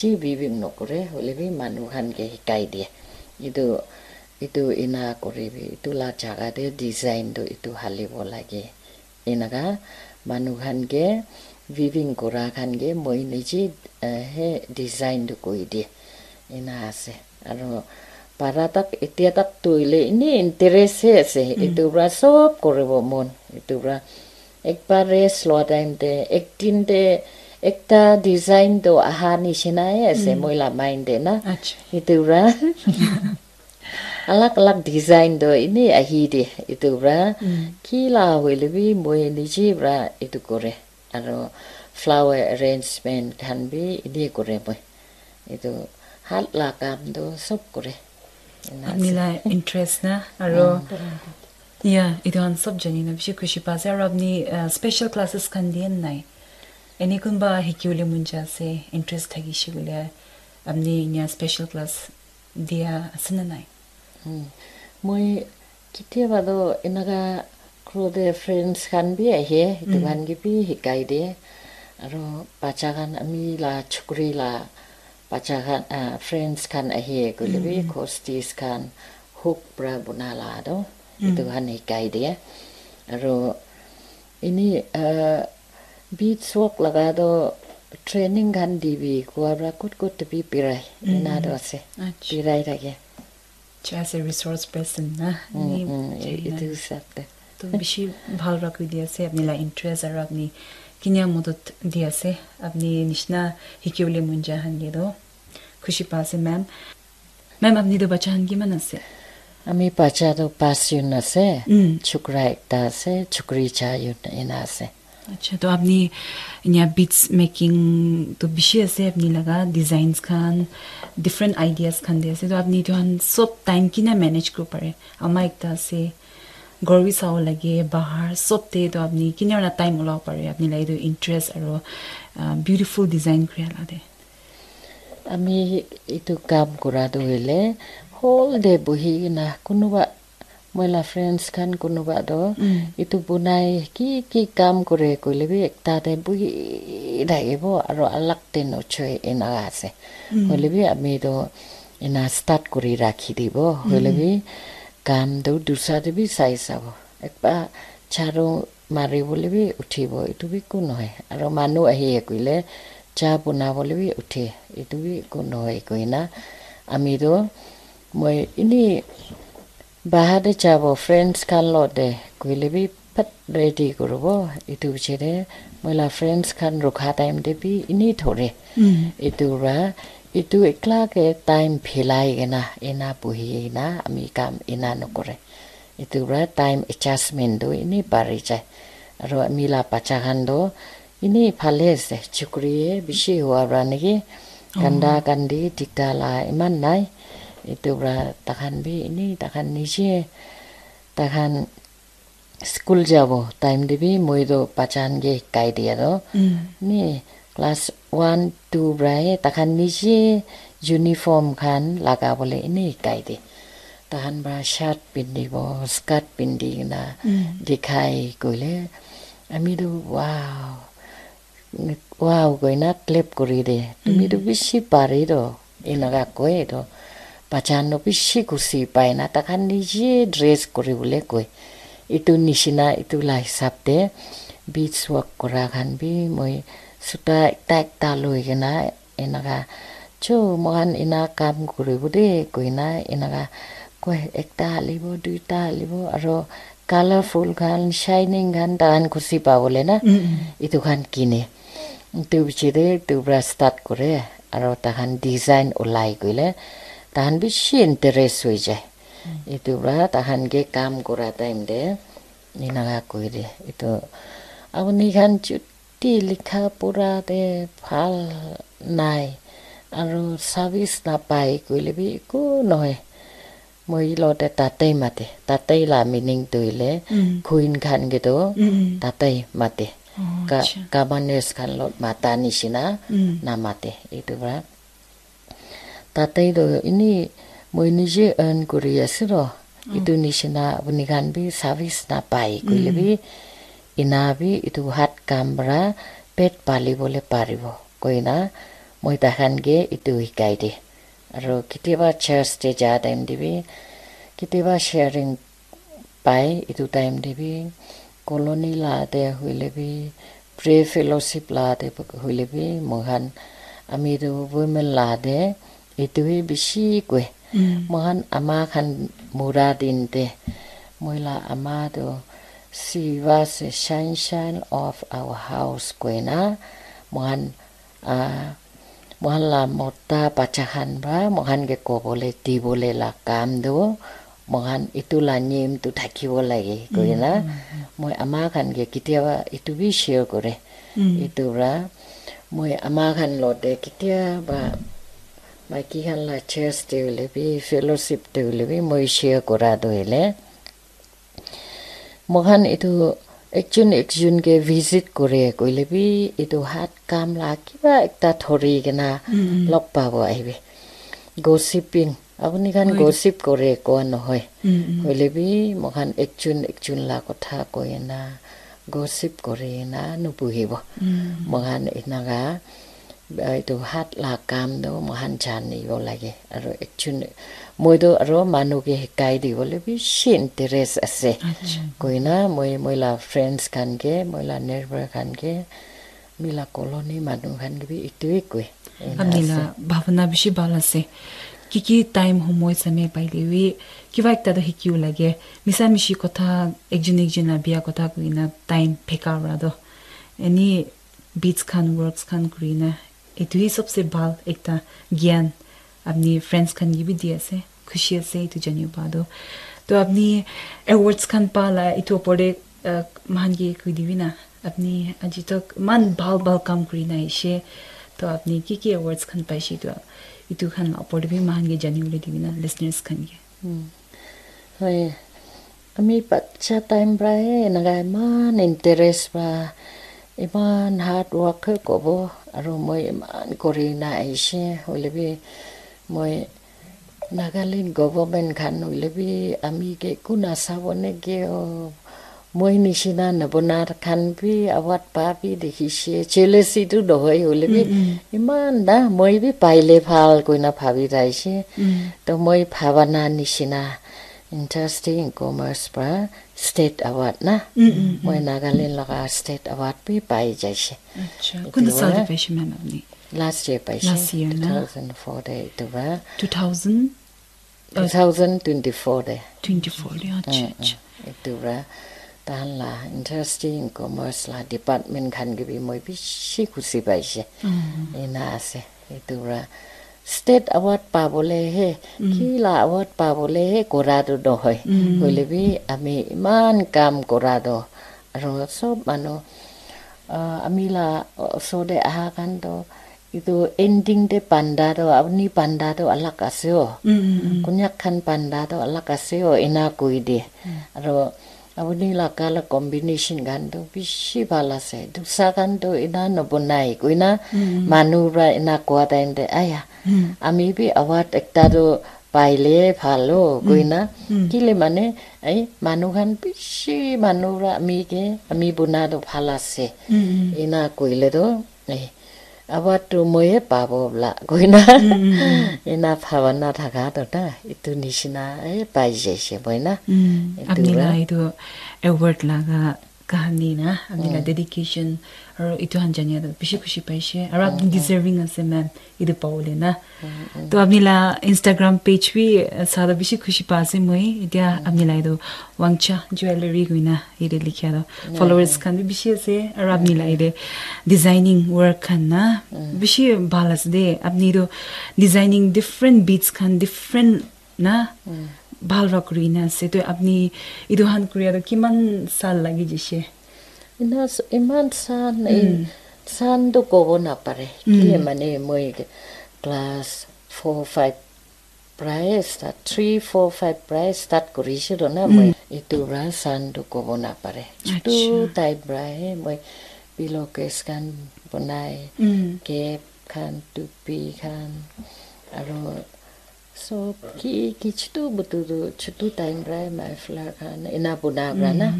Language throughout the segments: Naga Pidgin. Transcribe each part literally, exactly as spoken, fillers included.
Chi weaving nokore, hoile bi manu khan ke hikai dia. Itu, itu ena kore bi, itu la jaga te design tu itu halibo lage. Enaka manu khan ke weaving kura khan ke moi niche, eh, he design tu koi dia. Ena ase. Aro para tak, etia tak tu hoile ini interest he ase. Mm. Itu pra sob koribo mon. Itu pra ekbar rest loa time te, ek din te ekta design to aha nishina he ase, mm, moi la mind te na. Acha. Itu pra alag alag design to ini ahi de. Itu pra, mm, ki la hoile bi moi niche pra itu kore. Aro flower arrangement khan bi ini kore moi. Itu hat la kam to sob kore. Ena ase. Apni la interest na, aro, mm, ya, itu khan sob jani na bishi khushi pa ase. Aro apni, uh, special classes khan diye nai? Eni kunba hikiwole mon jai ase, interest thakishe koile, apni inya special class dia ase na nai? Hmm. Moi ketiaba toh enaka ghor te friends khan bi ahe, etu, mm, khan ke bi hikai de. Aro bacha khan, ami la chukri la bacha khan, ah, friends khan ahe koile bi, mm, mm, hosties khan, hook pra buna la toh, mm, etu khan hikai de. Aro ini, ah, beads work laga toh training khan dibi koa pra kut kut te bi birai, ena, mm, toh ase. Acha. Birai thake. Acha, as a resource person na, mm, ni, mm, chai e-, na. Etu hisab te. To bishi bhal rakhi di ase, apni la interest aro apni kinya modot di ase, apni nishina hikiwole mon jai khan ke toh khushi pa ase, ma'am. Ma'am, apni toh bacha khan kiman ase? Ami bacha toh pas jun ase, mm, chukra ekta ase, chukri char jun ena ase. Acha, to apni inya beads making to bishi ase, apni laga designs khan, different ideas khan de ase. To apni etu khan sob time kina manage kuri pare? Ama ekta ase, ghor bi sabo lage, bahar sob te to apni kina na time ulabo pare, apni la etu interest aro, ah, beautiful design kuri la de. Ami etu kam kura tu hoile whole day buhi kena kunuba moi la friends khan kunuba toh, mm, etu bunai ki ki kam kure koile bi ekta te buhi thakibo aro alag te nochoi ena ase. Mm. Hoile bi ami toh ena start kuri rakhi dibo. Mm. Hoile bi kam toh dusra te bi sai sabo. Ekba jharu mari bole bi uthibo, etu bi eku nohoi. Aro manu ahi koile cha buna bole bi uthe, etu bi eku nohoi koina ami toh moi ini bahar te jabo, friends khan logote koile bi phat ready kuribo. Etu piche te moi la friends khan rukha time te bi ini thore. Mm. Etu pra, etu ekla ke time philai kena, ena buhi kena ami kam ena nokore. Etu pra time adjustment tu ini bari jai. Aro ami la bacha khan tu ini phale ase, chukri he bishi hua pra naki. Oh. Kanda kandi dikta la iman nai. Etu pra takhan bi ini takhan niche, takhan school jabo time te bi moi tu bacha khan ke hikai dia tu. Mm. Ni class one, two pra he takhan niche uniform khan laga bole ini hikai de. Takhan pra shirt pindibo, skirt pindi kena, mm, dikhai koile, ami tu wow, wow koina clap kuri de. Tumi tu, mm, bishi pare toh. Enaka koi toh. Bacha khan toh bishi khushi pai na, takhan niche dress kuri bole koi. Etu nishina, etu la hisab te beads work kura khan bi moi suta ekta ekta loi kena enaka, "Cho, moikhan ena kam kuribo de," koina enaka koi, ekta halibo, duita halibo, aro colorful khan, shining khan, takhan khushi pabole na, mm, mm, etu khan kine. Etu piche te etu pra start kore, aro takhan design ulai koile, takhan bishi interest hoi jai. Mm. Etu pra takhan ke kam kura time te, enaka koi de, etu, "Apuni khan chuti likha pura te bhal nai, aro service napai koile bi eku nohoi." Moi logote tatei mate. Tatei la meaning tu hoile, mm, queen khan ke tu, mm, mm, tatei mate. Oh, ka-, acha. Governors khan logot mata nishina, mm, namate. Etu pra tatei tu ini moi niche earn kuri ase ro. Oh. Etu nishina apuni khan bi service napai koile, mm, bi, ena bi etu hat kam pra pet pali bole paribo koina Moi takhan ke etu hikai de. Aro ketiaba church te ja time te bi, ketiaba sharing pai, etu time te bi, colony la te hoile bi, prayer fellowship la te hoile bi, moikhan ami tu women la te etu hi bishi koi. Moikhan ama khan mura din te, moi la ama tu, "She was a sunshine of our house," koina, moikhan Ah, moikhan la mota bacha khan pra moikhan ke kobole dibole la kam tu moikhan etu la niyam tu thakibo lage koina, moi ama khan ke ketiaba etu bi share kore. Etu pra moi ama khan lote ketiaba maiki khan la church te hoile bi, fellowship te hoile bi, moi share kora tu hoile, moikhan etu ekjun ekjun ke visit kore koile bi, etu hat kam la kiba ekta thori kena log pabo ahibi. Gossiping, apuni khan gossip kore koa nohoi. Hoile bi, moikhan ekjun ekjun la kotha koi na gossip kore na nubuhibo. Moikhan enaka Ah, etu hat la kam tu moikhan janibo lage. Aro ekjun, moi tu aro manu ke hikai dibole bishi interest ase. Koina moi, moi la friends khan ke, moi la neighbor khan ke, ami la colony manu khan ke bi etu hi koi. Ena Apni ase. La bhabana bishi bhal ase. Ki ki time homoi samay paile bi kiba ekta tu hikibo lage. Misa mishi kotha, ekjun ekjun la bia kotha koina time pheka pra tu. Ani beads khan, works khan kurina, etu hi sabse bhal ekta gyan apni friends khan ke bi di ase. Khushi ase etu janibo pa tu. To apni awards khan pa la etu opor te, uh, moikhan ke koi dibi na. Apni aji tak eman bhal bhal kam kurina aishe. To apni ki ki awards khan paishe to etu khan la opor te bi moikhan ke jani bole dibi na listeners khan ke. Hmm. Hoi. Ami bacha time pra he enaka eman interest pra, eman hard work he kobo, aro moi eman kori na aishe, hoile bi moi Nagaland government khan hoile bi ami ke kun asabo neke o, moi nishina nabona khan bi award pa bi dekhishe, jealousy tu nohoi hoile bi, eman na moi bi paile bhal koina bhabi thaishe. To moi bhabana nishina interesting commerce pra state award na. Moi Nagaland laga state award bi pai jaishe. Acha, etu kunta sal te wa paishe ma'am apni? Last year paishe. Last year na? Two thousand four te etu wa. Two thousand? Two thousand twenty-four te. Twenty-four te, acha, acha. Etu wa tahan la interesting commerce la department khan ke bi moi bishi khushi paishe. Ena ase. Etu wa state award pabole he, ki la award pabole he kora tu nohoi. Hoile bi ami eman kam kora tu. Aro sob manu, ah, ami la osor te aha khan tu, etu ending te panda tu, apni panda tu alag ase o. Konyak khan panda tu alag ase o, ena koi de. Aro apni la color combination khan tu bishi bhal ase. Dusa khan tu ena nabonai, koina manu pra ena koa time te, aya, ami bi award ekta tu paile bhal o, koina. Kile mane, ai, manu khan bishi manu pra ami ke, ami bona tu bhal ase. Ena koile tu, ai, award tu moi he pabo bla, koina. Ena bhabana thaka tu na, etu nishina, ai, pai jaishe moi na. Etu Apni pra. La etu award laga kahani na, apni la dedication, aro etu khan jania tu bishi khushi paishe, aro apni deserving ase ma'am, etu pabole na. To apni la Instagram page bi, uh, sa tu bishi khushi pa ase moi, etia apni la etu Wangcha Jewellery koina yate likhia tu. Followers khan bi bishi ase, aro apni la yate designing work khan na, bishi bhal ase de, apni tu designing different beads khan, different na bhal para kuri na ase. To apni etu khan kuri aro kiman sal lagi jishe? Ina s-, iman san, i-, san tu kobo napare. Kile mane moi ke class four, five prai start, three, four, five prai start kurishe lo na moi. Etu para san tu kobo napare. Chutu type para he moi pillowcase khan bonai, cap khan, tupi khan, aro sob ki, ki chutu butu tu chutu time para muffler khan ena bona para na.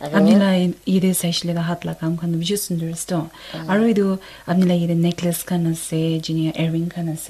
Apni la yate saishile ta hat la kam khan bishi sundor ase to. Aru etu apni la yate necklace khan ase, jini earring khan ase.